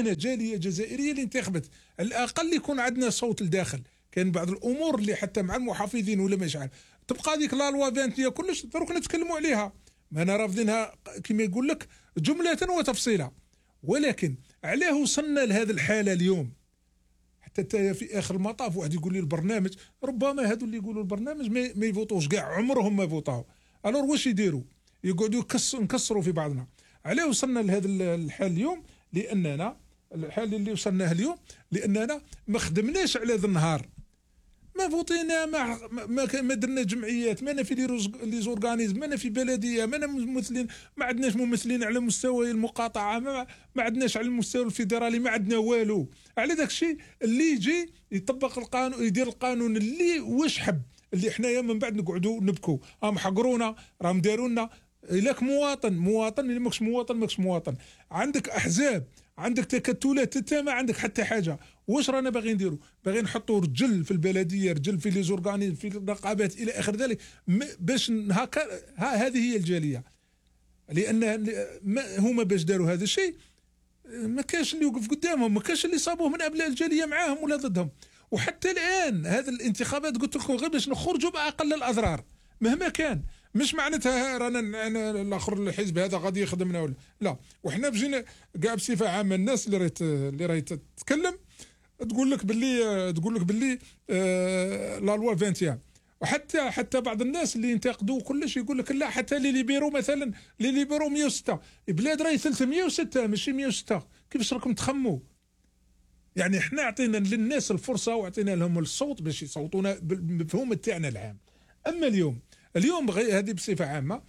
كان جاليه جزائريه اللي انتخبت، على الاقل يكون عندنا صوت لداخل. كان بعض الامور اللي حتى مع المحافظين ولا مش عارف تبقى هذيك لا لوا 20 كلش دروك نتكلموا عليها، ما انا رافضينها كما يقول لك جمله وتفصيلا. ولكن علاه وصلنا لهذه الحاله اليوم؟ حتى في اخر المطاف واحد يقول لي البرنامج، ربما هذو اللي يقولوا البرنامج ما يفوتوش كاع، عمرهم ما فوتاو. الور واش يديروا؟ يقعدوا نكسروا في بعضنا. علاه وصلنا لهذا الحال اليوم؟ لاننا الحال اللي وصلناه اليوم لاننا ما خدمناش على ذا النهار، ما فوتينا، ما درنا جمعيات، ما في لي زورغانيزم، ما في بلديه، ما ممثلين، ما عندناش ممثلين على مستوى المقاطعه، ما عندناش على المستوى الفيدرالي، ما عندنا والو. على داك الشيء اللي يجي يطبق القانون، يدير القانون اللي واش حب، اللي حنايا من بعد نقعدوا نبكوا راهم حقرونا، راهم داروا لنا. لك مواطن اللي ماكش مواطن. عندك احزاب، عندك تكتلات، انت ما عندك حتى حاجه. واش رانا باغي نديروا؟ باغي نحطوا رجل في البلديه، رجل في لي زورغانيزم، في النقابات الى اخر ذلك، باش هكا. هذه هي الجاليه. لان هما باش داروا هذا الشيء ما كاش اللي يوقف قدامهم، ما كاش اللي صابوه من ابناء الجاليه معاهم ولا ضدهم. وحتى الان هذه الانتخابات قلت لكم غير باش نخرجوا باقل الاضرار مهما كان. مش معناتها رانا الاخر الحزب هذا غادي يخدمنا ولا لا. وحنا بجينا كاع بصفه عامه الناس اللي راهي تتكلم تقول لك باللي لا لوا 21. وحتى بعض الناس اللي ينتقدوا كلش يقول لك لا، حتى لي ليبيرو مثلا، لي ليبيرو 106 البلاد راهي 306 ماشي 106. كيفاش راكم تخموا؟ يعني احنا عطينا للناس الفرصه وعطينا لهم الصوت باش يصوتونا بالمفهوم تاعنا العام. اما اليوم هذه بصفه عامه.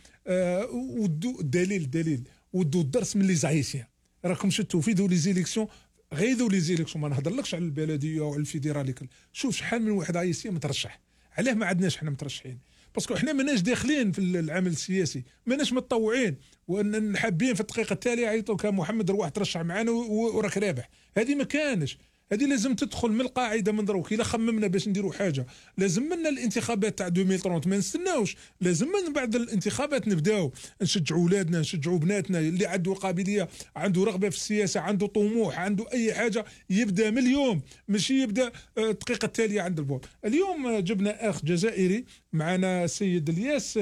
ودو الدليل ودو الدرس من لي زعيسيان. راكم شفتوا في دو لي زيليكسيون، غير لي زيليكسيون ما نهضرلكش على البلديه وعلى الفيدرالي. شوف شحال من واحد عايسيان مترشح. علاه ما عندناش حنا مترشحين؟ باسكو حنا ماناش داخلين في العمل السياسي، ماناش متطوعين، وان حابين في الدقيقه التاليه يعيطوك محمد روح ترشح معنا وراك رابح. هذه ما كانش. هذه لازم تدخل من القاعده من دروك. الا خممنا باش نديروا حاجه لازم لنا الانتخابات تاع 2030 ما نستناوش، لازم من بعد الانتخابات نبداو نشجعوا اولادنا، نشجعوا بناتنا. اللي عنده قابليه، عنده رغبه في السياسه، عنده طموح، عنده اي حاجه، يبدا من اليوم، ماشي يبدا الدقيقه التاليه عند الفوت. اليوم جبنا اخ جزائري معنا، السيد الياس.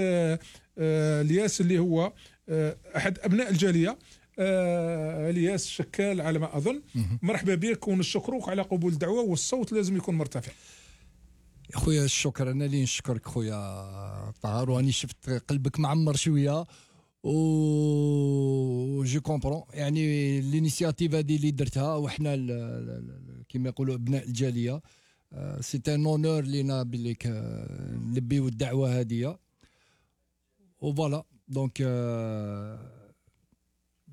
الياس اللي هو احد ابناء الجاليه. الياس شكال على ما اظن. مرحبا بك ونشكروك على قبول الدعوه، والصوت لازم يكون مرتفع. خويا الشكر، انا اللي نشكرك خويا طاهر، واني شفت قلبك معمر شويه و جو كومبرون. يعني الانيشياتيف هذه اللي درتها وحنا كما يقولوا ابناء الجاليه، سي ان اونور لينا بليك نلبيو الدعوه هذه. وفوالا دونك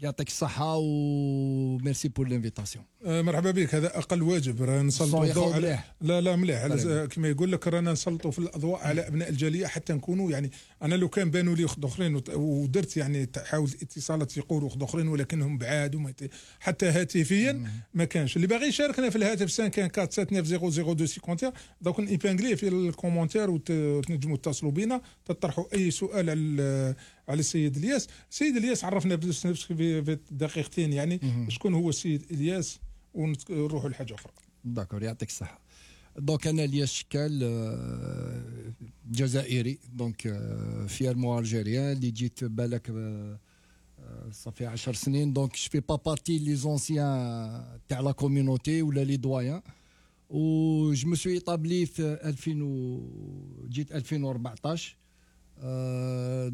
يعطيك الصحة وميرسي بور لانفيتاسيون. مرحبا بك. هذا أقل واجب، رانا نسلطوا الضوء على لا مليح كما يقول لك، رانا نسلطوا في الأضواء على أبناء الجالية حتى نكونوا. يعني أنا لو كان بانوا لي أخت أخرين ودرت يعني حاولت اتصالات يقولوا أخت أخرين ولكنهم بعاد حتى هاتفيا ما كانش. اللي باغي يشاركنا في الهاتف 514790251 دوك نيبانغليه في الكومنتير وتنجموا تتصلوا بنا تطرحوا أي سؤال على السيد الياس. السيد الياس عرفنا بنفسك في دقيقتين، يعني شكون هو السيد الياس ونروحوا لحاجه اخرى. داكور، يعطيك الصحه. دونك انا الياس شكال، جزائري، دونك فيرمون الجيريان اللي جيت بالك صافي 10 سنين. دونك جو في با بارتي لي زونسيان تاع لا كوميونيتي ولا لي دويان. و جو مو سوي ايطابلي في 2000 جيت 2014.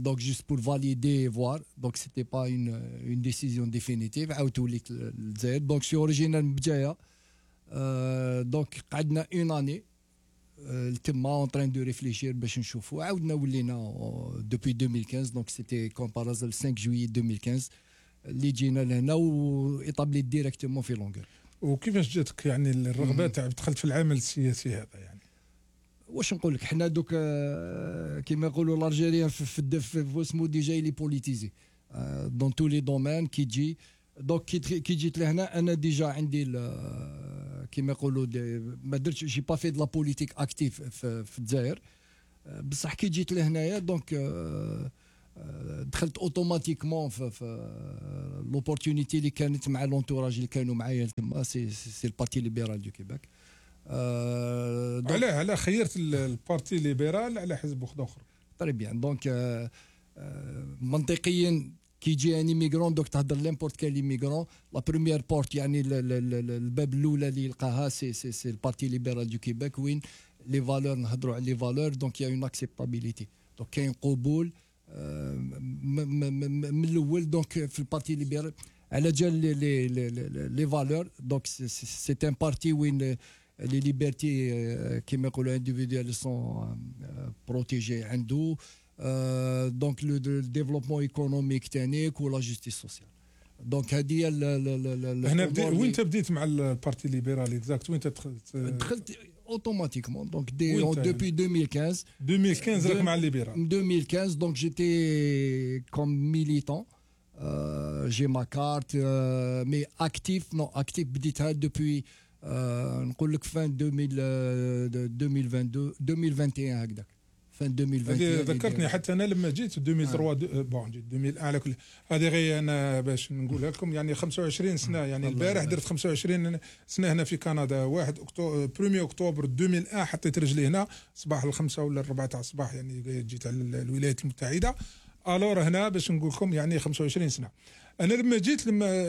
Donc juste pour valider et voir, donc c'était pas une décision définitive. عاودت للجزائر. donc je suis originaire من بجايه. donc قعدنا une année تما en train de réfléchir باش نشوفوا. عاودنا ولينا depuis 2015. donc c'était comme par hasard le 5 juillet 2015 اللي جينا لهنا وايطابلي ديريكتومون في لونغور. وكيفاش جاتك يعني الرغبه تاع دخلت في العمل السياسي هذا؟ يعني واش نقول لك، حنا دوك كيما يقولوا الالجيريان في اسمو ديجا لي بوليتيزي دون تو لي دومين كي تجي. دونك كي جيت لهنا انا ديجا عندي كيما يقولوا ما درتش جي با في دو لا بوليتيك اكتيف في الجزائر. بصح كي جيت لهنايا دونك دخلت اوتوماتيكمون في لوبورتونيتي اللي كانت مع لونتوراج اللي كانوا معايا تما. سي البارتي ليبرال دو كيباك. علاه خيرت البارتي ليبرال على حزب اخر؟ طري بيان. دونك منطقيا كي يجي ان ميغرون دوك تهضر لامبورت كان ميغرون لا بروميير بورت يعني الباب الاولى اللي يلقاها سي البارتي ليبرال دو كيباك وين لي فالور نهضروا على لي فالور. دونك يا اون اكسبتابيليتي. دونك كاين قبول من الاول. دونك في البارتي ليبرال على جال لي فالور. دونك سي ان بارتي وين لي ليبرتي كيما يقولوا انديفيدوال سون بروتيجي عنده. دونك لو ديفلوبمون ايكونوميك تانيك ولا جوستيس سوسيال. دونك هذه هنا وين بديت مع البارتي ليبرال اكزاكت؟ وين دخلت اوتوماتيكمون. دونك دوبي 2015 راك مع الليبرال. 2015 دونك جيتي كوم ميليتون. جي ما كارت مي اكتيف نو اكتيف بديتها دوبي نقول لك فان 2021 هكذاك. فان 2021 ذكرتني حتى انا لما جيت 2003 بون جيت 2001 على كل هذه غير انا باش نقولها لكم يعني 25 سنه يعني البارح درت 25 سنه هنا في كندا. 1 اكتوبر 2001 حطيت رجلي هنا صباح الخمسة ولا الربعة تاع الصباح يعني جيت على الولايات المتحده. الور هنا باش نقول لكم يعني 25 سنه. انا لما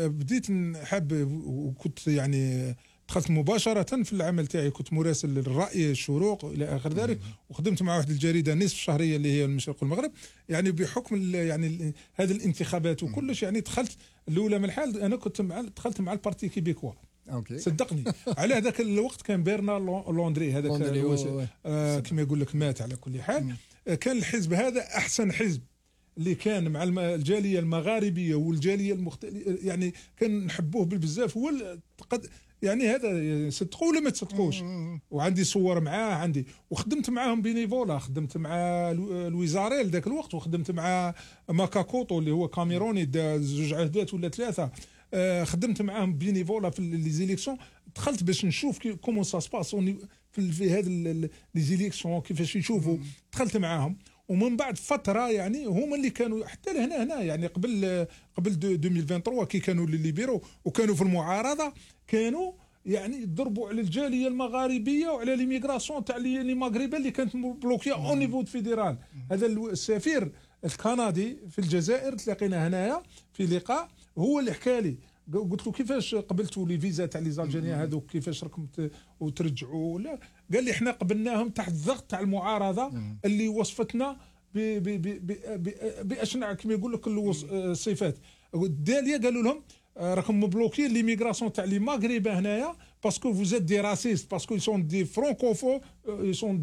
بديت نحب وكنت يعني دخلت مباشرة في العمل تاعي. كنت مراسل للرأي الشروق إلى آخر ذلك. وخدمت مع واحد الجريدة نصف شهرية اللي هي المشرق والمغرب. يعني بحكم يعني هذه الانتخابات وكلش يعني دخلت الأولى من الحال. أنا كنت دخلت مع البارتي كيبيكوا. صدقني على هذاك الوقت كان بيرنار لوندري هذاك كما يقول لك مات. على كل حال كان الحزب هذا أحسن حزب اللي كان مع الجالية المغاربية والجالية يعني كان نحبوه بالبزاف. هو يعني هذا صدقوا ولا ما تصدقوش. وعندي صور معاه عندي. وخدمت معاهم بينيفولا. خدمت مع لويزاريل ذاك الوقت. وخدمت مع ماكاكوتو اللي هو كاميروني زوج عهدات ولا 3. خدمت معاهم بينيفولا في لي زيليكسيون. دخلت باش نشوف كومون سا سباس في هذا لي زيليكسيون كيفاش يشوفوا. دخلت معاهم. ومن بعد فتره يعني هما اللي كانوا حتى هنا يعني قبل 2023 كي كانوا لي ليبيرو وكانوا في المعارضه كانوا يعني يضربوا على الجاليه المغاربيه وعلى ليميغراسيون تاع لي مغاربه اللي كانت بلوكيه اون نيفو فيدرال. هذا السفير الكندي في الجزائر تلاقينا هنايا في لقاء هو اللي حكى لي. قلت له كيفاش قبلتوا لي فيزا تاع لي زالجيريان هذوك كيفاش راكم وترجعوا ولا؟ قال لي احنا قبلناهم تحت الضغط تاع المعارضه اللي وصفتنا باشنع كما يقول لك الصفات. الداليه قالوا لهم راكم مبلوكين ليميغراسيون تاع لي مغربه هنايا باسكو فوزيت دي راسيست باسكو يسون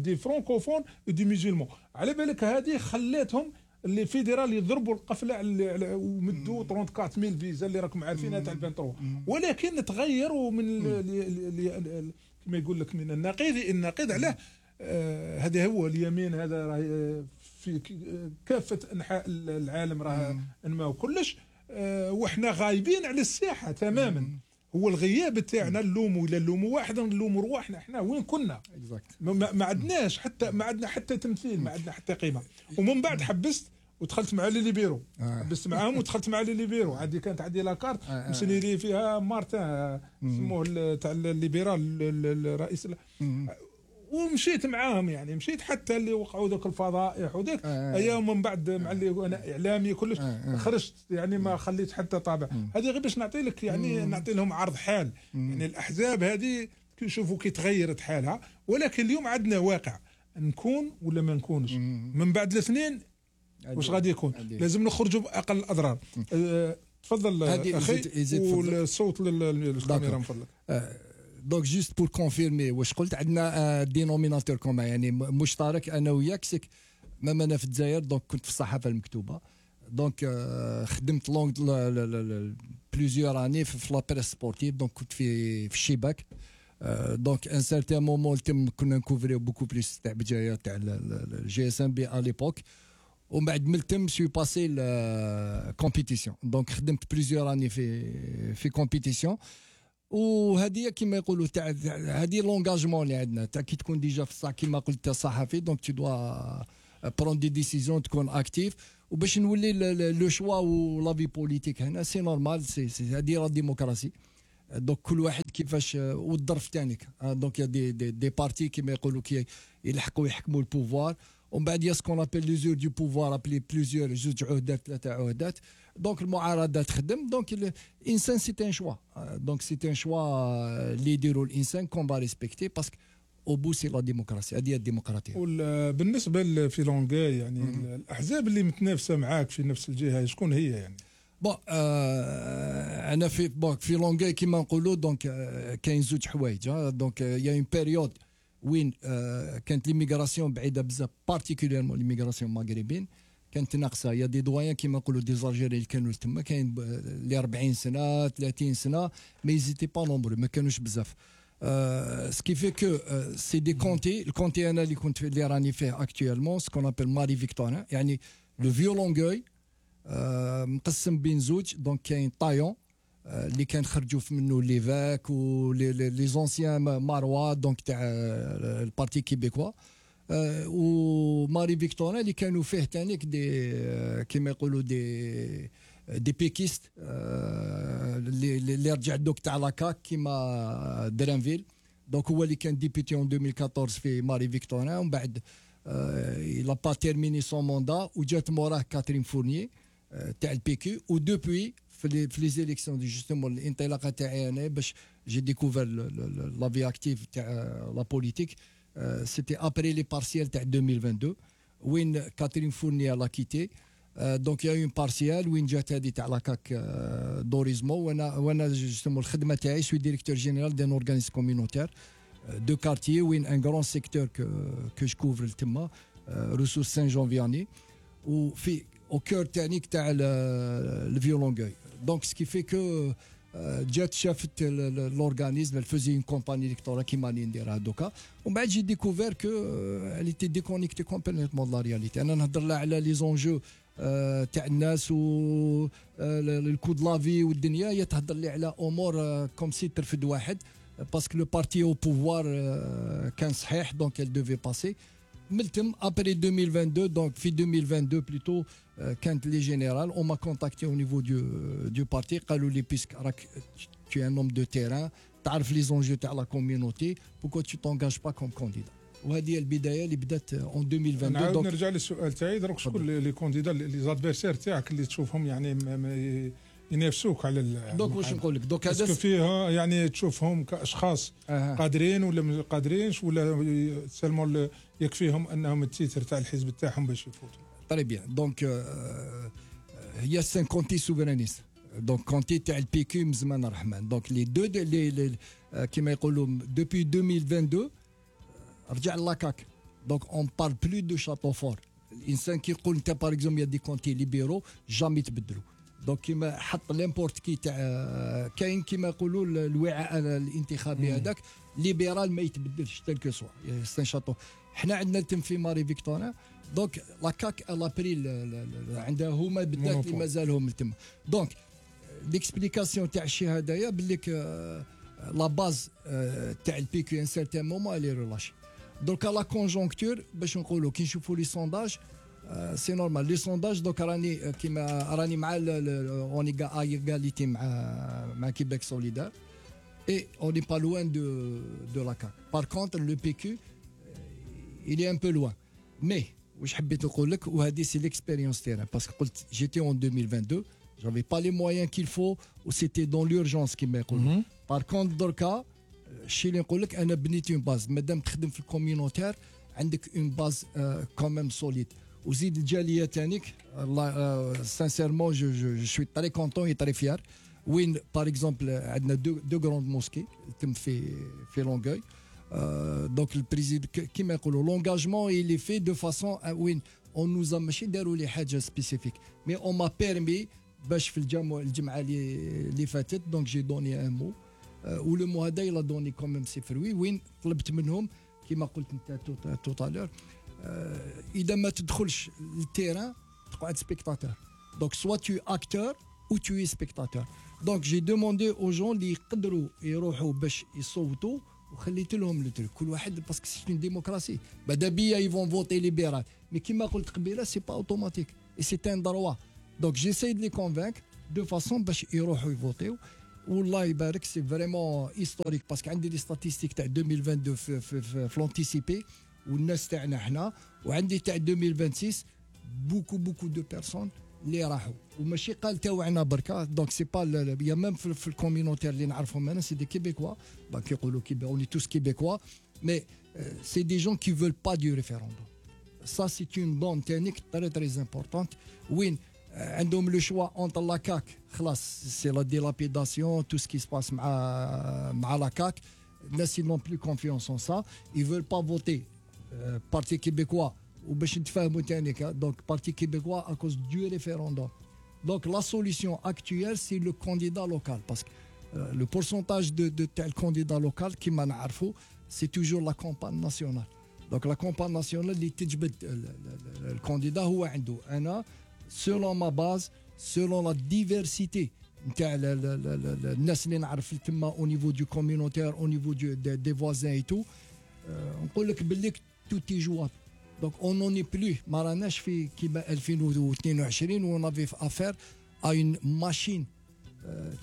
دي فرانكوفون دي ميزيلمون. على بالك هذه خلاتهم اللي فيدرال يضربوا القفله ومدوا 34000 فيزا اللي راكم عارفينها تاع 23. ولكن تغيروا من كما يقول لك من النقيض عليه. هذا هو اليمين هذا راه في كافه انحاء العالم راه انما وكلش. وإحنا غايبين على الساحه تماما. هو الغياب تاعنا نلوموا ولا نلوموا واحد نلوموا رواحنا. احنا وين كنا؟ ما عندناش حتى تمثيل. ما عندنا حتى قيمه. ومن بعد حبست ودخلت مع لي ليبيرو. حبست معاهم ودخلت مع لي ليبيرو. كانت عندي لاكارت مسني لي فيها مارتان سموه تاع الليبرال الرئيس. ومشيت معاهم يعني مشيت حتى اللي وقعوا ذوك الفضائح وذاك ايام. من بعد مع اللي انا اعلامي كلش خرجت يعني ما خليت حتى طابع. هذه غير باش نعطي لك يعني نعطي لهم عرض حال. يعني الاحزاب هذه كنشوفوا كي تغيرت حالها. ولكن اليوم عندنا واقع نكون ولا ما نكونش. من بعد الاثنين واش غادي يكون؟ لازم نخرجوا باقل الاضرار. تفضل اخي. والصوت للكاميرا من فضلك. دونك جوست بور كونفيرمي واش قلت. عندنا دينوميناتور كومان يعني مشترك انا وياك. سيك مام انا في الجزائر دونك كنت في الصحافه المكتوبه. دونك خدمت لونغ بليزيور اني في لا بريس سبورتيف. دونك كنت في الشباك. دونك ان سارتان مومون كنا نكوفريو بوكو بليس تاع بجايه تاع الجي اس ام بي ا ليبوك. ومن بعد ملتم سوي باسي كومبيتيسيون. دونك خدمت بليزيور اني في كومبيتيسيون. وهذه كما يقولوا تاع هذه لونغاجمون اللي عندنا تاع كي تكون ديجا في الصح كما قلت صحفي. دونك تو دوا برون دي ديسيزيون تكون اكتيف. وباش نولي لو شوا ولا في بوليتيك هنا سي نورمال سي هذه لا ديموكراسي. دونك كل واحد كيفاش والظرف تاعك. دونك يا دي بارتي كيما يقولوا كي يلحقوا يحكموا البوفوار، ومن بعد يا سكون ابل ليزور دو بوفوار ابلي بليزيور جوج عهدات 3 عهدات. دونك المعارضه تخدم. دونك الانسان سي ان شوا. دونك سي ان شوا اللي يديروا الانسان كون با ريسبكتي باسكو او بو سي لا ديموكراسي. هذه الديمقراطيه. بالنسبه لفيلونغاي يعني الاحزاب اللي متنافسه معاك في نفس الجهه شكون هي يعني؟ بون انا في لونغاي كيما نقولوا. دونك كاين زوج حوايج. دونك يا اون بيريود وين كانت ليميغراسيون بعيده بزاف بارتيكوليرمون ليميغراسيون مغربين كانت ناقصه. يا دي دويان كيما نقولوا دي زالجيري اللي كانوا تما كاين اللي 40 سنه 30 سنه مي زيتي با نومبرو ما كانوش بزاف. سكي في كو سي دي كونتي. الكونتي انا اللي راني فيه اكطوالمون سكون ابل ماري فيكتورين يعني لو فيو لونغوي مقسم بين زوج. دونك كاين طايون اللي كان خرجوا منه ليفاك ولي زونسيان ماروا دونك تاع البارتي كيبيكوا وماري فيكتورين اللي كانوا فيه تانيك دي كيما يقولوا دي بيكيست اللي رجع دوك تاع لاكاك كيما درانفيل. دونك هو اللي كان ديبيتي اون 2014 في ماري فيكتورين ومن بعد il a pas terminé son mandat وجات موراه كاترين فورنيي تاع البي كيو. ودوبوي في لي زيليكسيون دي جوستومون الانطلاقه تاعي انا باش جي ديكوفر لا في اكتيف تاع لا بوليتيك سيتي ابري لي بارسيال تاع 2022 وين كاترين فورنيي لا كيتي. دونك يا اون بارسيال وين جات هذه تاع لاكاك دوريزمو. وانا جوستومون الخدمه تاعي سوي ديريكتور جينيرال دان اورغانيز كومينوتير دو كارتيي وين ان غران سيكتور كو جو كوفر تما روسوس سان جون فياني وفي au cœur تاعك تاع الفيولونغوي. دونك سكي في كو جات شافت لورغانيزم فوزي اون كومباني الكتورال كيما راني نديرها دوكا ومن بعد جي ديكوفير كو اللي تي ديكونيكتي كومبليتمون لا رياليتي. انا نهضر لها على لي زونجو تاع الناس و الكود لافي والدنيا. هي تهضر لي على امور كوم سي ترفد واحد باسكو لو بارتي او بوفوار كان صحيح. دونك ال دوفي باسي ملتم ابري 2022. دونك في 2022 بلوتو كانت لي جينيرال اون ما كونتاكتي او نيفو دو بارتي قالوا لي بيسك راك tu es un homme de terrain تعرف لي زونجو تاع لا كوميونيتي بوكو tu t'engages pas comme candidat. وهذه البدايه اللي بدات اون 2022. نعاود نرجع للسؤال تاعي دروك شكون لي كونديدا لي زادفيرسير تاعك اللي تشوفهم يعني ينافسوك على دونك واش نقول لك دونك هذا فيها يعني تشوفهم كاشخاص قادرين ولا ما قادرينش ولا سلمون يكفيهم انهم التيتر تاع الحزب تاعهم باش يفوتوا؟ طري بيان. دونك هي سان كونتي سوفرانيست. دونك كونتي تاع البي كيو من زمان الرحمن. دونك لي دو كيما يقولوا دوبي 2022 رجع لاكاك. دونك اون بار بلو دو شاتو فور. الانسان كيقول انت باغ اكزومبل يا دي كونتي ليبيرو جامي تبدلوا. دونك كيما حط ليمبورت كي تاع كاين كيما يقولوا الوعاء الانتخابي هذاك ليبرال ما يتبدلش تل كو سوا سان شاتو. حنا عندنا تم في ماري فيكتورين. دونك لاكاك لابري عندها هما بالذات اللي مازالهم تما. دونك ليكسبليكاسيون تاع الشيء هذايا باللي لا باز تاع البي كيو ان سيرتان مومون الي ريلاشي. دونك لا كونجونكتور باش نقولوا كي نشوفوا لي سونداج سي نورمال لي سونداج. دوك راني كيما راني مع اوني ايغاليتي مع كيبيك سوليدار اي اوني با لوان دو لا كاك. بار كونتر لو بي كيو il est un peu loin. مي واش حبيت نقول لك وهذه سي ليكسبيريونس تاعنا باسكو قلت جيتي اون 2022 j'avais pas les moyens qu'il faut و c'était dans l'urgence كيما يقولوا. بار كونتر دركا الشيء اللي نقول لك انا بنيت اون باز مادام تخدم في الكوميونيتير عندك اون باز كوميم سوليد وزيد الجاليه تانيك. سانسيرمون جو سوي تري كونتون اي تري فيار وين باغ اكزومبل عندنا دو غروند موسكي تم في لونغوي. دونك البريزيد كيما يقولوا لونغاجمون اللي في دو فاسون وين اون نوزا ماشي داروا لي حاجه سبيسيفيك مي اون ما بيرمي باش في الجمعه اللي فاتت. دونك جي دوني ان مو ولو مو هذا يلا دوني كوميم سي فروي وين طلبت منهم كيما قلت انت توتالور اذا ما تدخلش للتيران تقعد سبيكتاتور. دونك سوا تو اكتور ou tu es spectateur. Donc j'ai demandé aux gens اللي يقدروا يروحوا باش يصوتوا وخليت لهم لو كل واحد باسكو سي اون ديموكراسي. بعدا بيا يفون فوتي ليبرال مي كيما قلت قبيله سي با اوتوماتيك. et c'est un droit. Donc j'essaie de les convaincre de façon باش يروحوا يفوتيو. والله يبارك سي فريمون هيستوريك باسكو عندي لي ستاتيستيك تاع 2022 في لونتيسيبي والناس تاعنا حنا وعندي تاع 2026 بوكو دو بيرسون اللي راحوا وماشي قال تاوعنا بركا دونك سي با يا ميم في الكوميونيتير اللي نعرفهم انا سي دي كيبيكوا دونك يقولوا اوني توس كيبيكوا مي سي دي جون كي فول با دو ريفيروندوم سا سي اون دون تانيك تري امبورطونت وين عندهم لو شوا اونتر لا كاك خلاص سي لا ديلابيداسيون تو سكي سباس مع لا كاك الناس نون بلو كونفيونس اون سا اي فول با فوتي بارتي كيبيكوا وباش نتفاهموا تانيك دونك بارتي كيبيكوا ا كوز دو ريفيروندوم دونك لا سوليسيون اكتويل سي لو كانديدا لوكال باسكو لو بورسونتاج دو تاع الكانديدا لوكال كيما نعرفوا سي توجور لا كومبان ناسيونال دونك لا كومبان ناسيونال اللي تجبد الكانديدا هو عنده انا selon ma base selon la diversité نتاع الناس اللي نعرف تما au niveau du communautaire au niveau des voisins et tout نقول لك باللي tout est jouable donc on n'en est plus ما راناش في كيما 2022 و on avait affaire à une machine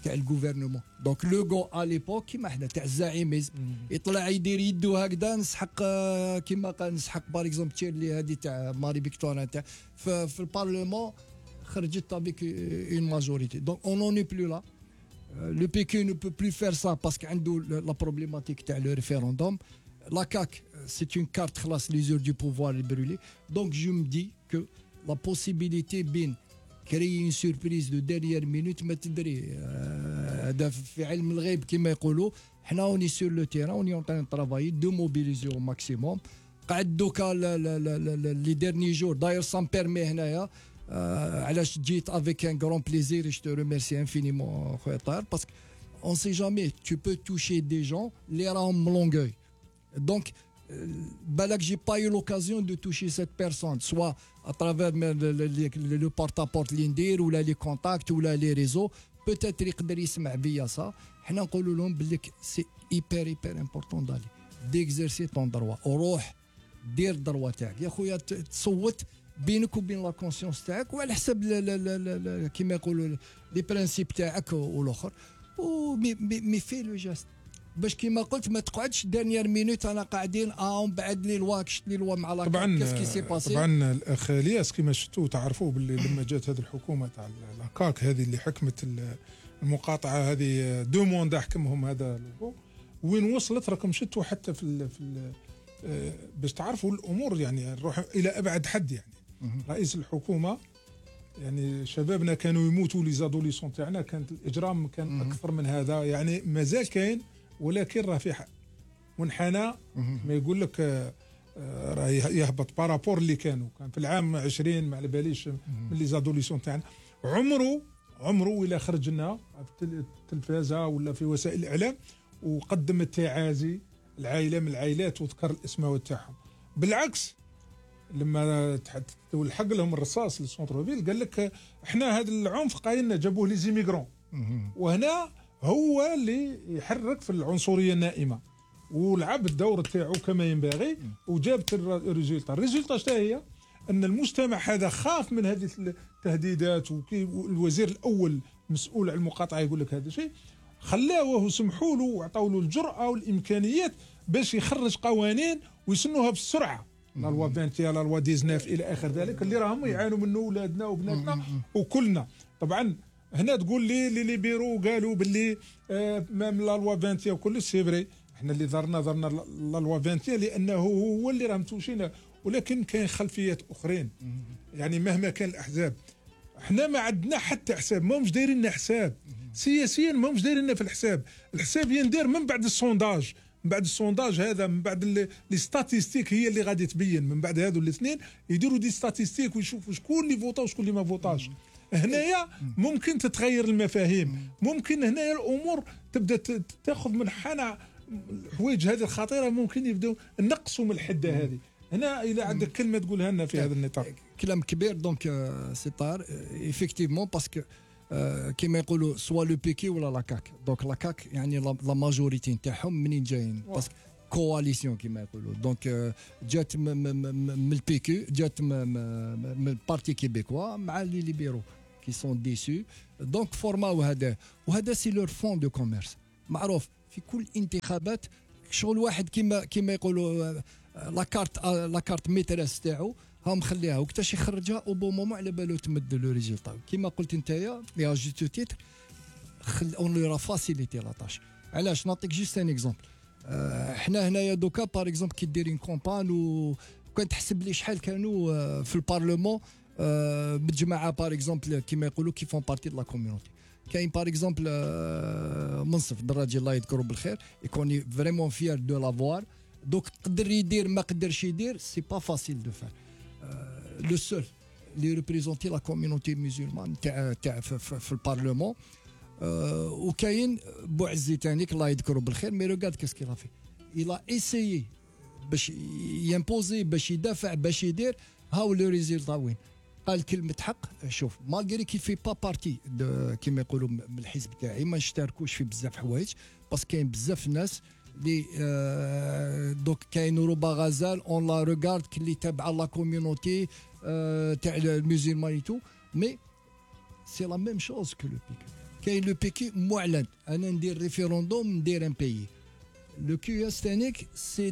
تاع الجوفرنمون دونك لو جو ا ليبوك كيما حنا تاع الزعيميزم يطلع يدير يدو هكذا نسحق كيما قال نسحق باغ اكزومبل تشيرلي هذه تاع ماري فيكتوريا تاع في البارلمون خرجت افيك اون ماجوريتي دونك اون نوني بلو لا لو بيكي نو بو بلو فير سا باسكو عنده لا بروبليماتيك تاع لو ريفيروندوم لا كاك سي اون كارت خلاص لي زور دو بوفوار برولي دونك جو مي دي كو لا بوسيبيليتي بين كري اون سوربريز دو ديريير مينوت ما تدري هذا في علم الغيب كما يقولوا حنا اوني سور لو تيران اوني اون تران طرافاي دو موبيليزيو ماكسيموم قعد دوكا لي ديرني جور داير سان بيرمي هنايا علاش جيت افيك ان غران بليزير جو تو ريميرسي انفينيمون خويا طاهر باسكو اون سي جامي تو بو توشي دي جون اللي راهم ملونغوي دونك بالك j'ai pas eu l'occasion de toucher cette personne soit à travers le porte-à-porte اللي ندير ولا لي كونتاكت ولا لي ريزو peut-être يقدر يسمع بيا صا حنا نقولوا لهم بليك سي ايبر امبورطون دالي ديكزيرسي طون دروا وروح دير الدروا تاعك يا خويا تصوت بينك وبين لا كونسيونس تاعك وعلى حسب كيما يقولوا لي برانسيب تاعك والاخر مي في لو جاست باش كيما قلت ما تقعدش دانيير مينوت انا قاعدين من بعد لي لوا كشت لي لوا مع لا كيف كي سي باسي طبعا الاخ الياس كيما شفتوا تعرفوا باللي لما جات هذه الحكومه تاع الكاك هذه اللي حكمت المقاطعه هذه دو موندا حكمهم هذا وين وصلت راكم شفتوا حتى في باش تعرفوا الامور يعني نروح الى ابعد حد يعني رئيس الحكومه يعني شبابنا كانوا يموتوا لي زادوليسون تاعنا كانت الاجرام كان اكثر من هذا يعني مازال كاين ولكن راه في منحنى ما يقول لك راه يهبط بارابور اللي كان في العام 20 ما على باليش من لي زادوليسون تاعنا عمره الى خرجنا في التلفازه ولا في وسائل الاعلام وقدم التعازي العائله من العائلات وذكر الاسماء تاعهم بالعكس لما تلحق لهم الرصاص للسونتر فيل قال لك احنا هذا العنف قايلنا جابوه لي زيميغرون وهنا هو اللي يحرك في العنصريه النائمه ولعب الدور تاعو كما ينبغي وجابت الريزولتا شتا هي ان المجتمع هذا خاف من هذه التهديدات والوزير الاول مسؤول عن المقاطعه يقول لك هذا الشيء خلاوه وسمحوا له وعطاوا له الجرأه والامكانيات باش يخرج قوانين ويسنوها بالسرعه لا لوا 20 لا لوا 19 الى اخر ذلك اللي راهم يعانوا منه اولادنا وبناتنا وكلنا طبعا هنا تقول لي لي بيرو قالوا باللي مام لا لوا 20 وكل سي فري احنا اللي ضرنا لا لوا 20 لانه هو اللي راهم توشينا ولكن كاين خلفيات اخرين يعني مهما كان الاحزاب احنا ما عندنا حتى حساب ما همش دايرين لنا حساب سياسيا ما همش دايرين لنا في الحساب يندير من بعد السونداج هذا من بعد لي ستاتيستيك هي اللي غادي تبين من بعد هذو الاثنين يديروا دي ستاتيستيك ويشوفوا شكون اللي فوتا وشكون اللي ما فوتاش هنايا ممكن تتغير المفاهيم ممكن هنايا الامور تبدا تاخذ منحنى الحوايج هذه الخطيره ممكن يبداو نقصوا من الحده هذه هنا الى عندك كلمه تقولها لنا في هذا النطاق كلام كبير دونك سي طار ايفيكتيفمون باسكو كيما يقولوا سوا لو بيكي ولا لاكاك دونك لاكاك يعني لا ماجوريتي نتاعهم منين جايين باسكو كواليسيون كما يقولوا. دونك جات من البي كيو، جات من البارتي كيبيكوا مع لي ليبيرو كي سون ديسو. دونك فورماو هذا، وهذا سي لور فون دو كوميرس معروف في كل انتخابات. شغل واحد كما يقولوا لا كارت ميتريس تاعو ها مخليها وقتاش يخرجها او بون مومون على بالو تمد لو ريزولطا. كيما قلت نتايا يا جوستو تيتر اون لو فاسيليتي لا تاش. علاش نعطيك جوست ان اكزومبل. حنا هنايا دوكا باغ اكزومبل كي ديرين كومبان وكان تحسب لي شحال كانوا في البارلمون بالجماعه باغ اكزومبل كيما يقولوا كي فون بارتي دو لا كوميونيتي. كاين باغ اكزومبل منصف دراجي الله يذكره بالخير يكوني فريمون فيير دو لافوار. دوك قدر يدير ما قدرش يدير سي با فاسيل دو فار. لو سول اللي ريبريزونتي لا كوميونيتي ميزولمان تاع في البارلمون. وكاين بوعزي تانيك الله يذكره بالخير مي روغارد كاسكي لافي إلا إيسيي باش يمبوزي باش يدافع باش يدير هاو لو ريزولتا وين. قال كلمة حق. شوف مالغري كي في با بارتي كيما يقولوا من الحزب تاعي ما نشتركوش في بزاف حوايج باسكو كاين بزاف ناس اللي دوك كاين روبا غزال اون لا روغارد كلي تابعه لا كوميونيتي تاع الميزيلمانيتو مي سي لا ميم شوز كو لو بيك. كاين لو بيكي معلن انا ندير ريفيروندوم ندير ان بيي. لو كيو اس تانيك سي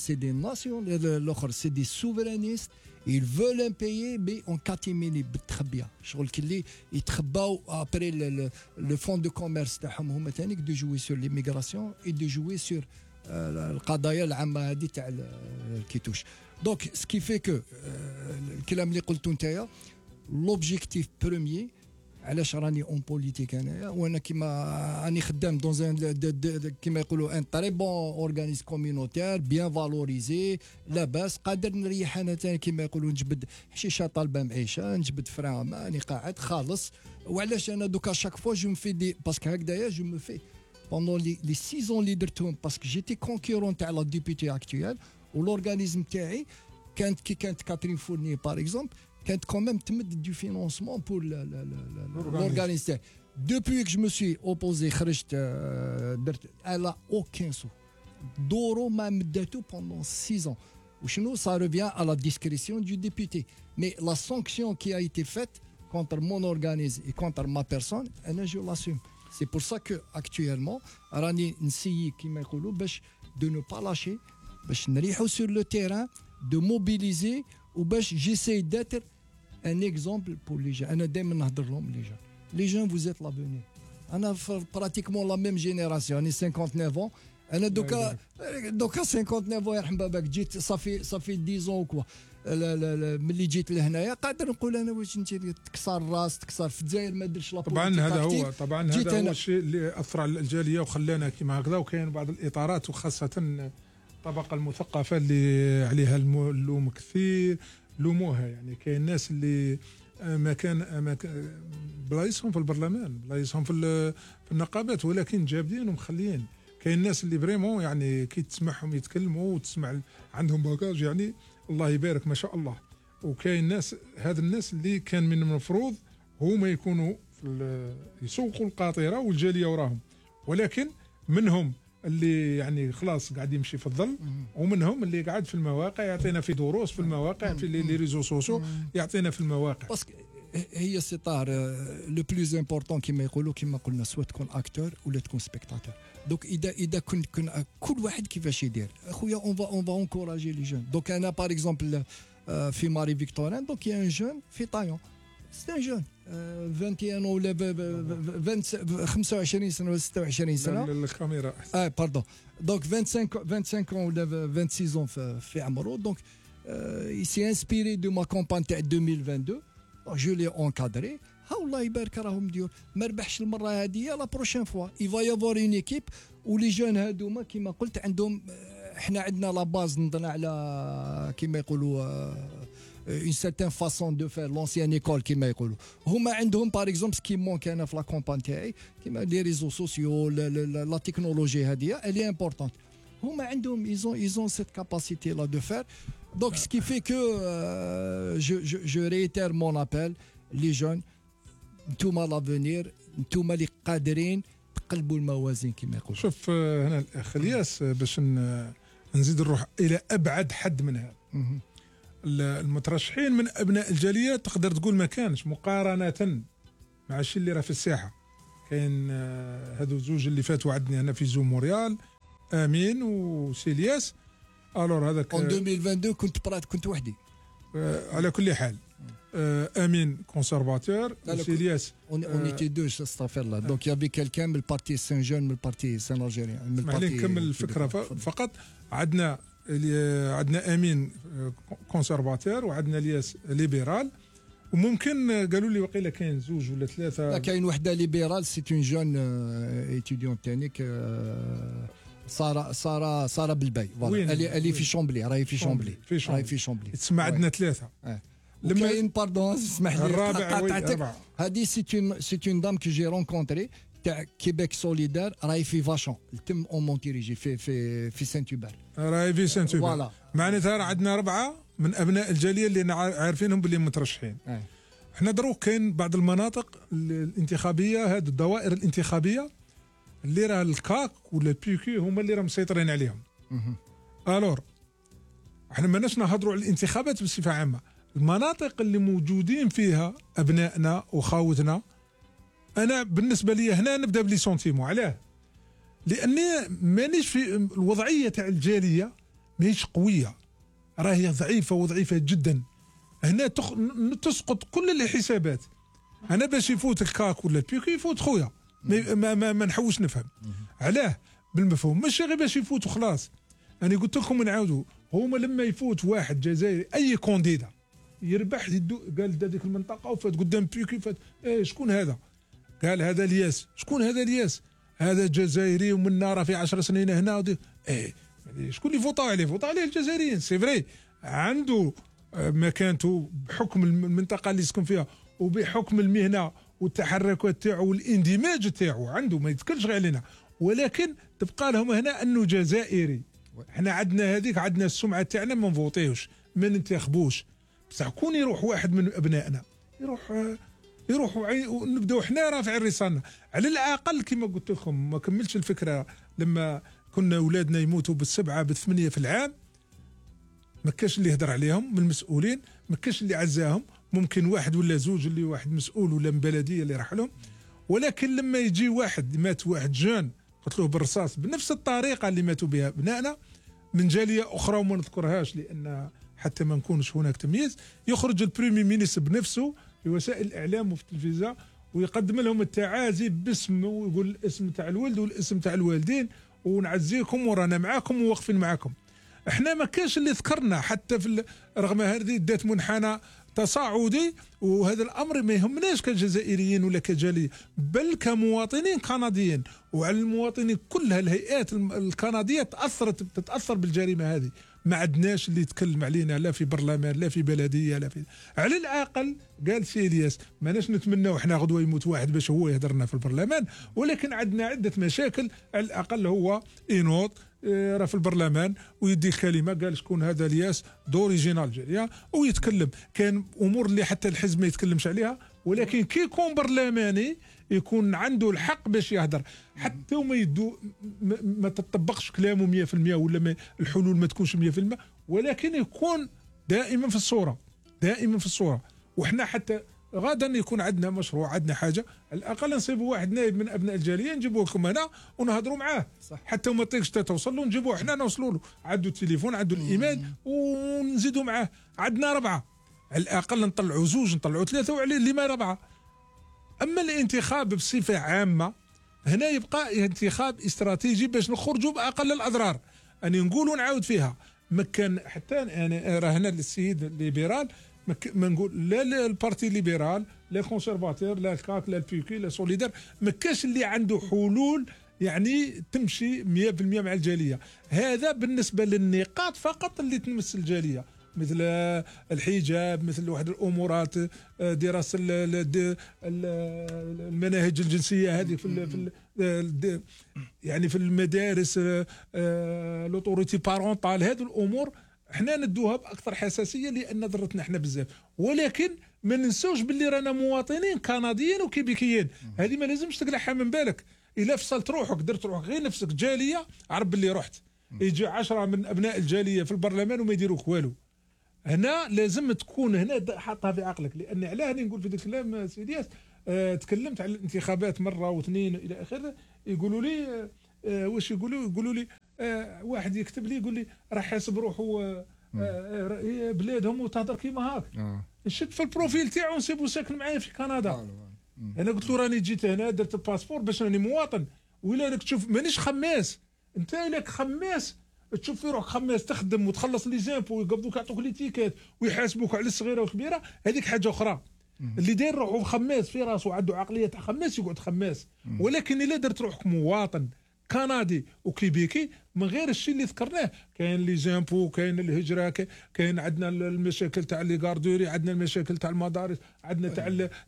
دي ناسيون الاخر سي دي سوفرانيست ils veulent un pays mais en catimini بالتخبيه شغل كلي يتخباو ابري لو فون دو كوميرس تاعهم هما تانيك دو جوي سور ليميغراسيون اي دو جوي سور القضايا العامه هذه تاع الكيتوش. دونك سكي في كو الكلام اللي قلتو نتايا لوبجيكتيف بروميي علاش راني اون بوليتيك انايا وانا كيما راني خدام دون كيما يقولوا ان تري بون اورغانيز كوميونيتير بيان فالوريزي لاباس قادر نريح انا ثاني كيما يقولوا نجبد حشيشه طالبه معيشه نجبد فران ماني قاعد خالص. وعلاش انا دوكا شاك فوا جو مفي دي باسكو هكذايا جو مفي بوندون لي 6 اللي درتهم باسكو جيتي كونكورون تاع لا ديبيتي اكطويل والاورغانيزم تاعي كانت كي كانت كاترين فورني باغ اكزومبل كانت كوميم تمد دو فينونسمون بور l'organisme. Depuis que je me suis opposé خرجت درت elle a aucun sou دورو ما مداتو pendant 6 ans. وشنو ça revient à la discrétion du député mais la sanction qui a été faite contre mon organisme et contre ma personne انا je l'assume. C'est pour ça que actuellement راني نسيي كيما يقولوا باش de ne pas lâcher باش نريحو sur le terrain de mobiliser وباش j'essaie d'être un exemple pour les gens. انا دائما نهضر لهم les gens vous êtes l'avenir. انا pratiquement la même génération راني 59 ans. انا دوكا 59 يرحم باباك جيت صافي 10 كوا ملي جيت لهنايا قادر نقول انا واش انت تكسر راس تكسر في الجزائر ما درتش لا طبعا هذا هو الشيء اللي اثر على الجاليه وخلانا كيما هكذا. وكاين بعض الاطارات وخاصه الطبقه المثقفه اللي عليها اللوم كثير لوموها. يعني كاين ناس اللي ما كان بلايصهم في البرلمان بلايصهم في النقابات ولكن جابدين ومخليين. كاين ناس اللي فريمون يعني كي تسمعهم يتكلموا وتسمع عندهم باكاج يعني الله يبارك ما شاء الله. وكاين ناس هذا الناس اللي كان من المفروض هما يكونوا يسوقوا القاطره والجاليه وراهم ولكن منهم اللي يعني خلاص قاعد يمشي في الظل ومنهم اللي قاعد في المواقع يعطينا في دروس في المواقع في لي ريزو سوسيو يعطينا في المواقع. باسكو هي سي طار لو بلوز امبورطون كيما يقولوا كيما قلنا سواء تكون اكتور ولا تكون سبيكتاتور. دونك اذا كنت كل واحد كيفاش يدير اخويا اون فا انكوراجي لي جون. دونك انا باغ اكزومبل في ماري فيكتورين دونك يا ان جون في طايون سي ان جون 21 ولا 25 سنه ولا 26 سنه الكاميرا باردون دونك 25 ولا 26 في عمره. دونك il s'est inspiré de ma campagne تاع 2022 je l'ai encadré. ها الله يبارك راهم مديور ما ربحش المره هذه لا بروشين فوا il va y avoir une équipe ولي جون هذوما كيما قلت عندهم احنا عندنا لا باز نضنا على كيما يقولوا une certaine façon de faire l'ancienne école كيما يقولوا. هما عندهم باغ اكزومبل سكي مونك انا في لا كومبان تاعي كيما لي ريزو سوسيو لا تكنولوجي هذه اللي امبورطونت. هما عندهم ils ont cette capacité là de faire. Donc ce qui fait que je réitère mon appel les jeunes نتوما لافونير نتوما اللي قادرين قلبوا الموازين كما يقول. شوف هنا الاخ الياس باش نزيد نروح الى ابعد حد من هذا. المترشحين من ابناء الجاليه تقدر تقول ما كانش مقارنه مع الشيء اللي راه في الساحه. كاين هذو زوج اللي فاتوا عندنا هنا في زوم موريال، امين وسيلياس. الور هذاك 2022 كنت وحدي. على كل حال امين كونسرفاتور وسيلياس اون ايتي دو استغفر الله. دونك يافي كالكان من البارتي سان جون من البارتي سان الجيريان. اسمح لي نكمل الفكره فقط. عندنا امين كونسرفاتور وعندنا الياس ليبرال، وممكن قالوا لي وقيله كاين زوج ولا ثلاثه. لا كاين وحده ليبرال سي اون جون ايتيديون تانيك ساره بالباي اللي في شومبلي. راهي في شومبلي تسمع عندنا ثلاثه. لما باردون اسمح لي الرابع هذه سي اون دام كي جي رونكونتري تاع كيبيك سوليدار. راهي في فاشون تم اون مونتيريجي في سانت هوبر. راهي في سانت هوبر. معناتها عندنا 4 من ابناء الجاليه اللي عارفينهم باللي مترشحين. احنا دروك كاين بعض المناطق الانتخابيه، هذه الدوائر الانتخابيه اللي راه الكاك ولا البيكي هما اللي راه مسيطرين عليهم. الور احنا ماناش نهضروا على الانتخابات بصفه عامه. المناطق اللي موجودين فيها ابنائنا وخاوتنا، انا بالنسبه لي هنا نبدا بلي سونتيمون. علاه؟ لاني مانيش في الوضعيه تاع الجاليه، ماهيش قويه، راهي ضعيفه وضعيفه جدا. هنا تسقط كل الحسابات. انا باش يفوت الكاك ولا البيكي يفوت خويا، ما نحوش نفهم. علاه؟ بالمفهوم، ماشي غير باش يفوت وخلاص. انا قلت لكم ونعاودوا، هما لما يفوت واحد جزائري اي كونديدا يربح قال هذيك المنطقه وفات قدام بيكي فات شكون هذا؟ قال هذا الياس. شكون هذا الياس؟ هذا جزائري ومن راه في 10 سنين هنا شكون اللي فوطوا عليه؟ فوطوا عليه الجزائريين. سي فري عنده مكانته بحكم المنطقه اللي يسكن فيها وبحكم المهنه والتحركات تاعو والاندماج تاعو عنده، ما يتكلش غير علينا، ولكن تبقى لهم هنا انه جزائري. احنا عندنا هذيك، عندنا السمعه تاعنا ما نفوطيوش ما ننتخبوش، بصح كون يروح واحد من ابنائنا يروح ونبداو احنا رافعين رسالنا. على الاقل كما قلت لكم، ما كملتش الفكره، لما كنا اولادنا يموتوا ب7 ب8 في العام، ما كاش اللي يهدر عليهم من المسؤولين، ما كاش اللي عزاهم. ممكن واحد ولا زوج اللي واحد مسؤول ولا من بلديه اللي راح لهم، ولكن لما يجي واحد مات واحد جون قتلوه بالرصاص بنفس الطريقه اللي ماتوا بها ابنائنا من جاليه اخرى وما نذكرهاش لان حتى ما نكونش هناك تمييز، يخرج البريمي مينيستر بنفسه في وسائل الاعلام وفي التلفزيون ويقدم لهم التعازي باسم، ويقول الاسم تاع الولد والاسم تاع الوالدين ونعزيكم ورانا معاكم وواقفين معاكم. احنا ما كاش اللي ذكرنا حتى في رغم هذه دات منحنى تصاعدي، وهذا الامر ما يهمناش كجزائريين ولا كجاليه، بل كمواطنين كنديين. وعلى المواطنين كلها الهيئات الكنديه تتاثر بالجريمه هذه. ما عندناش اللي يتكلم علينا لا في برلمان لا في بلديه لا في. على الاقل قال سي الياس ماناش نتمناو احنا غدوه يموت واحد باش هو يهدرنا في البرلمان، ولكن عندنا عده مشاكل. على الاقل هو ينوض راه في البرلمان ويدي الكلمه، قال شكون هذا الياس دوريجينال جيريا ويتكلم. كان امور اللي حتى الحزب ما يتكلمش عليها، ولكن كي يكون برلماني يكون عنده الحق باش يهدر، حتى وما يدو ما تطبقش كلامه 100% ولا الحلول ما تكونش 100%، ولكن يكون دائما في الصوره، دائما في الصوره. وحنا حتى غدا يكون عندنا مشروع، عندنا حاجه، على الاقل نصيبوا واحد نائب من ابناء الجاليه نجيبوه لكم هنا ونهضروا معاه. صح. حتى وما طيقش توصل له نجيبوه حنا نوصلوا له، عنده التليفون عنده الايميل ونزيدوا معاه. عندنا 4 على الاقل، نطلعوا 2 نطلعوا 3 وعليه اللي ما 4. اما الانتخاب بصفه عامه هنا يبقى انتخاب استراتيجي باش نخرجوا باقل الاضرار. اني نقول ونعاود فيها، ما كان حتى يعني راه هنا السيد الليبرال ما نقول لا البارتي ليبرال لا كونسرفاتور لا الكاك لا البيكي لا سوليدار، ما كاش اللي عنده حلول يعني تمشي 100% مع الجاليه. هذا بالنسبه للنقاط فقط اللي تمس الجاليه، مثل الحجاب، مثل واحد الامورات، دراسه المناهج الجنسيه هذه في يعني في المدارس، لوتوريتي بارونتال. هذه الامور احنا ندوها باكثر حساسيه لان ضرتنا احنا بزاف، ولكن ما ننسوش باللي رانا مواطنين كنديين وكيبيكيين. هذه ما لازمش تقلعها من بالك. الا فصلت روحك درت روحك غير نفسك جاليه، عرف باللي رحت. يجي 10 من ابناء الجاليه في البرلمان وما يديروك والو. هنا لازم تكون هنا حاطها في عقلك، لان علاه راني نقول في ذاك الكلام سيدي ياس. تكلمت على الانتخابات مره واثنين الى اخره، يقولوا لي واش يقولوا لي واحد يكتب لي يقول لي راه حاسب روحه بلادهم وتهضر كيما هاك. نشد في البروفيل تاعو نسيبو ساكن معايا في كندا. انا قلت له راني جيت هنا درت الباسبور باش راني مواطن، ولا راك تشوف مانيش خماس. انت لك خماس تشوف في روحك خماس تخدم وتخلص لي زامبو ويقبضوك يعطوك لي تيكات ويحاسبوك على الصغيره والكبيره، هذيك حاجه اخرى. اللي داير روحه خماس في راسه وعنده عقليه تاع خماس يقعد خماس. ولكن الا درت روحك مواطن كندي وكيبيكي من غير الشيء اللي ذكرناه، كاين لي زامبو، كاين الهجره، كاين عندنا المشاكل تاع لي غاردوري، عندنا المشاكل تاع المدارس، عندنا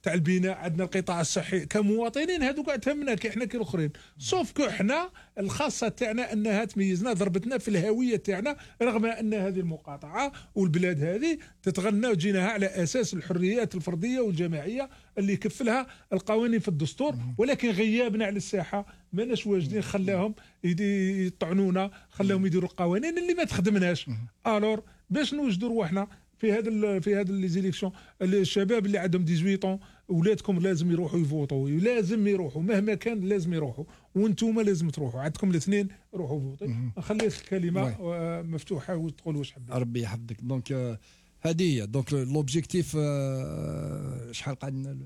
تاع البناء، عندنا القطاع الصحي. كمواطنين هذوك كاع تهمنا كي احنا كي الاخرين، سوف كو احنا الخاصه تاعنا انها تميزنا ضربتنا في الهويه تاعنا، رغم ان هذه المقاطعه والبلاد هذه تتغنى وجيناها على اساس الحريات الفرديه والجماعيه اللي يكفلها القوانين في الدستور. ولكن غيابنا على الساحه ماناش واجدين، خلاهم يطعنونا، خلاهم يديروا القوانين اللي ما تخدمناش. الور باش نوجدوا رواحنا في هذا لي زيليكسيون، الشباب اللي عندهم 18 اولادكم لازم يروحوا يفوتوا، لازم يروحوا مهما كان، لازم يروحوا، وانتم لازم تروحوا، عندكم الاثنين روحوا فوتوا. نخلي الكلمه مفتوحه وتقول واش حبيت. ربي يحفظك. دونك هذه هي دونك لوبجيكتيف. شحال قعدنا؟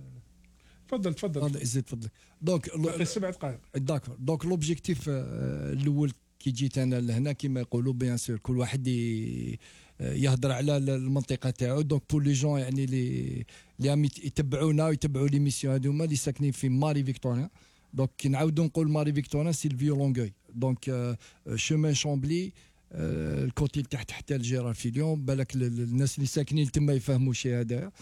تفضل زيد فضلك. دونك 7 دقائق. داكور. دونك لوبجيكتيف الاول كي جيت انا لهنا كيما يقولوا بيان سور كل واحد يهضر على المنطقه تاعو. دونك بور لي جون يعني اللي يتبعونا ويتبعوا لي ميسيون هذوما اللي ساكنين في ماري فيكتوريا. دونك كي نعاودوا نقول ماري فيكتوريا سي الفيو لونغوي. دونك شومان شامبلي الكوتي تحت حتى الجيرار في اليوم. بالك الناس اللي ساكنين تما يفهموا شي هذا.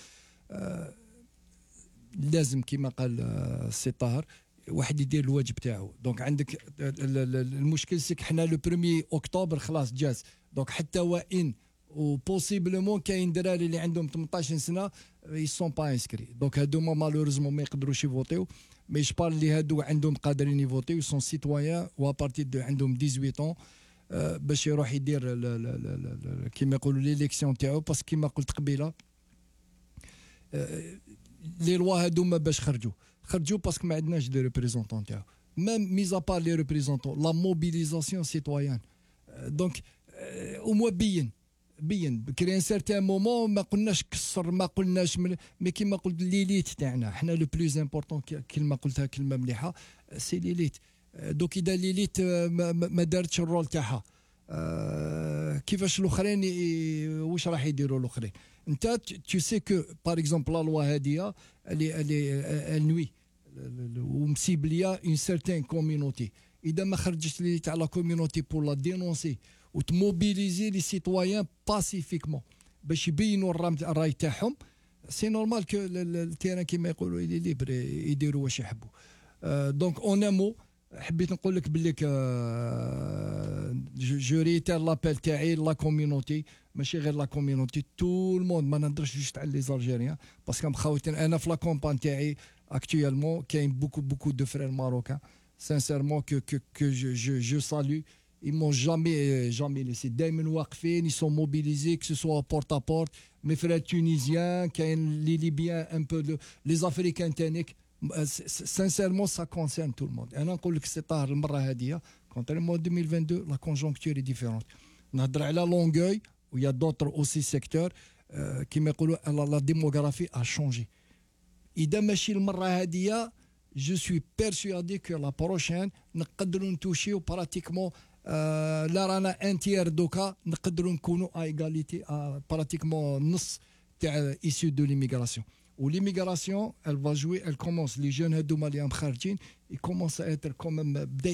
لازم كما قال السي طاهر واحد يدير الواجب تاعو. دونك عندك المشكل سيك حنا لو 1 اكتوبر خلاص جاز. دونك حتى وان وبوسيبلمون كاين دراري اللي عندهم 18 سنه يسون با انسكري. دونك هادوما مالوريزمون ما يقدروش يفوتيو. مي جبار اللي هادو عندهم قادرين يفوتيو سون سيتويان وابارتي دو عندهم 18 باش يروح يدير كيما يقولوا ليليكسيون تاعو. باسكو كيما قلت قبيله لي لوا هادوما باش خرجوا باسكو ما عندناش دي ريبريزونطون تاعو. ميم ميزا بار لي ريبريزونطون لا موبيليزاسيون سيتويان. دونك او بين كري ان سارتان مومون ما قلناش كسر، ما قلناش مي كيما قلت ليليت تاعنا حنا لو بلوز امبورطون. كلمه قلتها كلمه مليحه سي ليليت. دوك اذا ليليت ما دارتش الرول تاعها كيفاش الاخرين واش راح يديروا الاخرين؟ انت تو سي كو بار اكزومبل لا لوا هاديه اللي نوي ومسيبليا اون سيرتين كوميونيتي. اذا ما خرجتش لي تاع لا كوميونيتي بور لا دينونسي وتموبيليزي لي سيتويان باسيفيكمون باش يبينوا الراي تاعهم، سي نورمال كو التيران كيما يقولوا لي ليبر يديروا واش يحبوا. دونك اون امو حبيت نقول لك باللي جو ريتير لابيل تاعي لا كوميونيتي، ماشي غير لا كوميونيتي تو الموند. ما نهضرش جوست على لي زالجيريان باسكو مخاوتين انا في لا كومبان تاعي اكطويلمون كاين بوكو دو فرير ماروكان سانسيرمون كو جو سالو. ils m'ont jamais laissé. دائما واقفين ils sont mobilisés que ce soit porte à porte. mes frères tunisiens كاين لي ليبيان un peu les africains تانيك. sincèrement ça concerne tout le monde. انا نقول لك سي طاهر المره هذه كونتريمون 2022 لا كونجونكتور اي ديفيرونت. نهضر على لونغوي ويا دوتر اوسي سيكتور كيما يقولوا لا ديموغرافي ا شونجي. اذا ماشي المره هذه جو سوي بيرسوادي كو لا بروشين نقدروا نتوشيو براتيكمون لا رانا انتير دوكا نقدروا نكونوا ايغاليتي براتيكمون نص تاع ايسيو دو ليميغراسيون. وليميغراسيون elle va jouer, elle commence les jeunes هذوما اللي خارجين يكومونس اتر كوميم بدا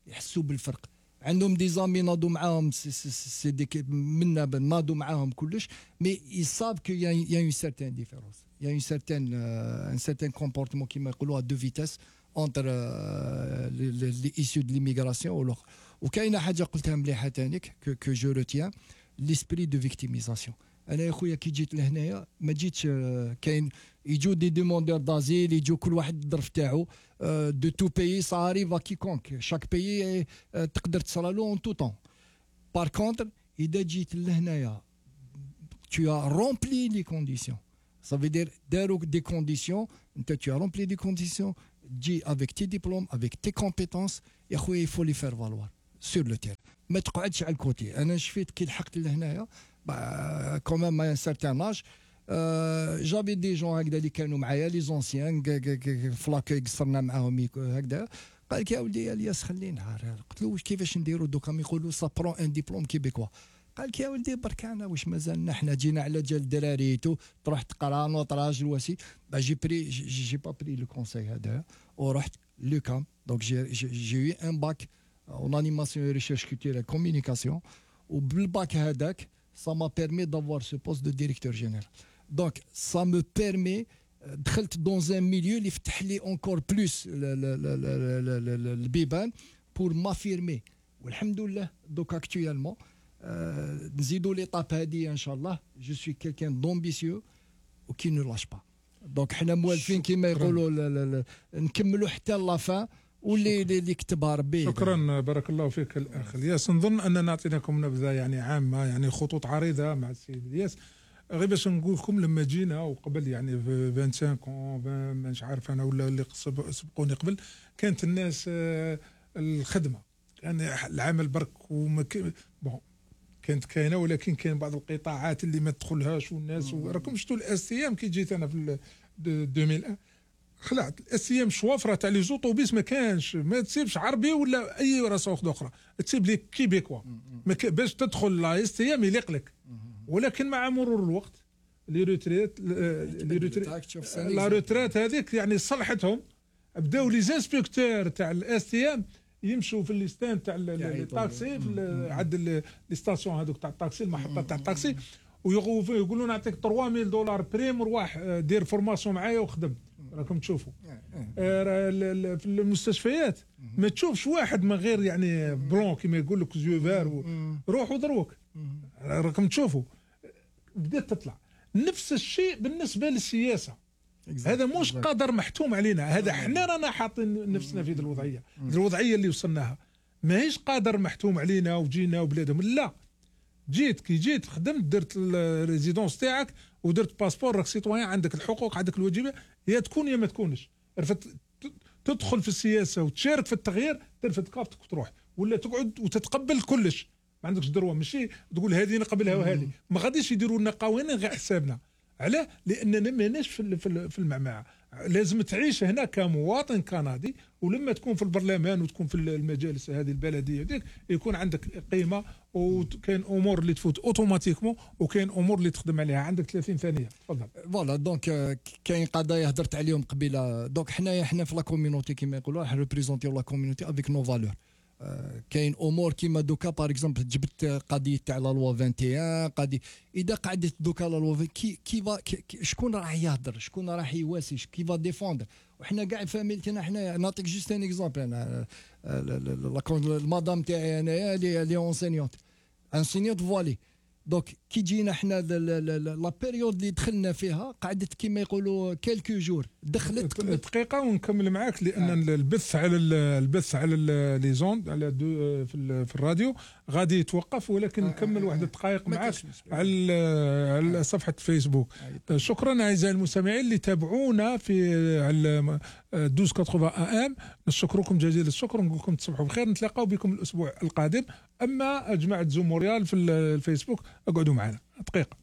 يحسوا بالفرق. عندهم دي زامي ناضوا معاهم سي ديك منا ناضوا معاهم كلش مي يصاب كو يا اون سيرتين ديفيرونس يا اون سيرتين ان سيرتين كومبورتمون كيما يقولوا دو فيتاس انتر لي ايسيو دو ليميغراسيون وكاينه حاجه قلتها مليحه تانيك كو جو روتيان ليسبري دو فيكتيميزاسيون. انا يا خويا كي جيت لهنايا ما جيتش كاين يجوا دي دوموندور دازيل يجوا كل واحد الظرف تاعو دو تو بيي سا اريف ا كيكونك شاك بيي تقدر تصرالو اون تو طون بار كونتر اذا جيت لهنايا tu as rempli les conditions. Ça veut dire des conditions, tu as rempli des conditions, dis avec tes diplômes, avec tes compétences, et il faut les faire valoir sur le terrain. ما تقعدش على الكوتي. انا شفت كي لحقت لهنايا quand même à un certain âge j'avais des gens هكذا اللي كانوا معايا لي زونسيان فلاكي قصرنا معاهم هكذا قال لك يا ولدي الياس خلينا قلت له واش كيفاش نديروا دوكا يقولوا سا برون ان ديبلوم كيبيكوا قال لك يا ولدي برك انا واش مازالنا حنا جينا على جال الدراري تروح تقرا نوطراج الوسي جي بري جي با بري لو كونساي هذا ورحت لوكام دونك جي يو ان باك اون انيماسيون ريشيرش كولتورال كومونيكاسيون وبالباك هذاك ça m'a permis d'avoir ce poste de directeur général. Donc ça me permet دخلت dans un milieu اللي فتح لي encore plus البيبان pour m'affirmer والحمد لله دوك actuellement نزيدوا ليطاب هذه ان شاء الله je suis quelqu'un d'ambitieux وكي ne lâche pas. donc حنا موالفين كما يقولوا نكملوا حتى لافان واللي كتبها ربي. شكرا بارك الله فيك الاخ الياس. نظن اننا اعطيناكم نبذه يعني عامه يعني خطوط عريضه مع السيد الياس غير باش نقول لكم لما جينا وقبل يعني 25 مش عارف انا ولا اللي سبقوني قبل كانت الناس الخدمه كان يعني العمل برك بون كانت كاينه ولكن كاين بعض القطاعات اللي ما تدخلهاش والناس راكم شفتوا الاس تي ام كي جيت انا في 2001 خلعت الاس تي ام شوافره تاع لي زوطوبيس ما كانش ما تسيبش عربي ولا اي رسوخ اخرى تسيب لي كيبيكوا باش تدخل لا اس تي ام يليق لك ولكن مع مرور الوقت لي روتريت لا روتريت هذيك يعني صلحتهم بداو لي زانسبكتور تاع الاس تي ام يمشوا في لي ستاند تاع الطاكسي عند لي ستاسيون هذوك تاع الطاكسي المحطه تاع الطاكسي ويقولوا نعطيك $3000 بريم وروح دير فورماسيون معايا وخدم. راكم تشوفوا في المستشفيات ما تشوفش واحد من غير يعني بلون كما يقول لك زيوفار روحوا ضروك. راكم تشوفوا بدات تطلع نفس الشيء بالنسبه للسياسه. هذا مش قدر محتوم علينا هذا احنا رانا حاطين نفسنا في هذه الوضعيه اللي وصلناها ماهيش قادر محتوم علينا وجينا وبلادهم لا كي جيت خدمت درت الريزيدونس تاعك ودرت باسبور راك سيتويان عندك الحقوق عندك الواجبات يا تكون يا ما تكونش تدخل في السياسه وتشارك في التغيير ترفد كافتك وتروح ولا تقعد وتتقبل كلش ما عندكش دروه ماشي تقول هذه نقبلها وهذه ما غاديش يديروا لنا قوانين غير حسابنا. علاه؟ لاننا ماناش في المعمعه لازم تعيش هنا كمواطن كندي ولما تكون في البرلمان وتكون في المجالس هذه البلديه ديك يكون عندك قيمه وكاين امور اللي تفوت اوتوماتيكمون وكاين امور اللي تخدم عليها. عندك 30 ثانيه تفضل. فوالا دونك كاين قضايا هضرت عليهم قبيله دونك حنا في لا كوميونيتي كيما يقولوا راح ريبريزونتيو لا كوميونيتي افيك نو فالور. كاين امور كيما دوكا باغ اكزومبل جبت قضيه تاع لا لوا 21 قضيه اذا قعدت دوكا لا لوا شكون راح يهضر شكون راح يواسي كيفا ديفوندر وحنا كاع فاميلتنا حنا نعطيك جوست ان اكزومبل انا المدام تاعي انايا اللي اونسينيونت فوالي دونك كي جينا حنا لا بيريود اللي دخلنا فيها قعدت كيما يقولوا كيلكو جور دخلت دقيقه ونكمل معاك لان البث على لي زوند على في الراديو غادي يتوقف ولكن نكمل واحد الدقائق معاك على صفحه فيسبوك. شكرا اعزائي المستمعين اللي تابعونا في على 1280 AM. نشكركم جزيل الشكر ونقول لكم تصبحوا بخير نتلاقاو بكم الاسبوع القادم. اما جماعه زوم موريال في الفيسبوك اقعدوا معنا دقيقه.